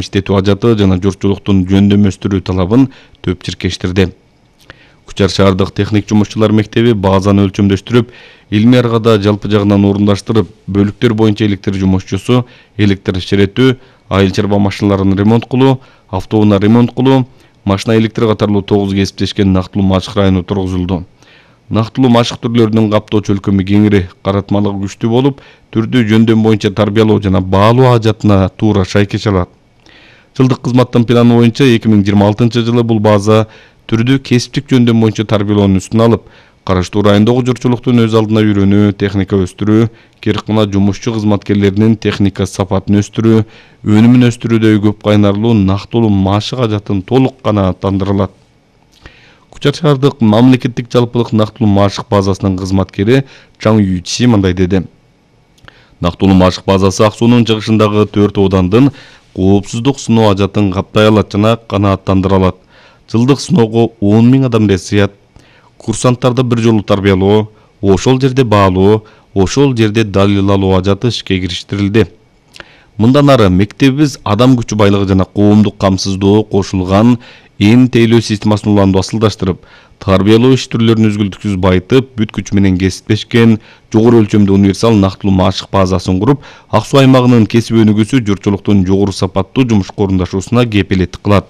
адам иштетүү ажаты жана журтчулуктун жөндөмөстүрүү талабын төп чиркештирди. Кучар шаардык техник жумушчулар мектеби базаны өлчөмдөштүрүп, илмий аргада жалпы жагынан орундаштырып, бөлүктөр боюнча электр жумушчусу электр иширетүү, айыл чарба машиналарын ремонт кылуу, автоунаа ремонт кылуу, машина электр катарлуу 9 кесиптешкен Нактылуу машык району тургузулду. Нактылуу машык түрлөрүнүн каптоо чөлкөмү кеңири, каратмалыгы күчтүү болуп, түрдүү жөндөм боюнча тарбиялоо жана баалоо ажатына туура шайкеш алат. Жылдык кызматтын планы боюнча 2026-жылы бул база түрдүү кесиптик жөндөм боюнча тарбиялоонун үстүнө алып, караштуу райондогу журтчулуктун өз алдына үйрөнүү, техника өстүрүү, киркына жумушчу кызматкерлеринин техника сапатын өстүрүү, өнүмүн өстүрүүдө көп кайнарлуу Нактылуу машык ажатын толук канааттандырылат. Кучар шаардык мамлекеттик жалпылык Нактылуу машык базасынын кызматкери Чаң Юйчи мындай деди. Нактылуу машык базасы Ак суунун чыгышындагы 4 оодандын коопсуздук сыноо ажатын каптай алат жана канааттандыра алат. Жылдык сыноого 10 000 адам сыят. Курсанттарды бир жолу тарбиялоо, ошол жерде баалоо, ошол жерде далил алуу ажаты ишке кириштирилди. Мындан ары мектебибиз адам күчү байлыгы жана коомдук камсыздоо кошулган ээн тейлөө системасын уланды асылдаштырып, тарбиялоо иш түрлөрүн үзгүлтүксүз байытып, бүт күч менен кесиптешкен жогору өлчөмдүү универсал Нактылуу машык базасын куруп, Ак суу аймагынын кесип өнүгүүсү журтчулуктун жогору сапаттуу жумушка орундашуусуна кепилеттик кылат.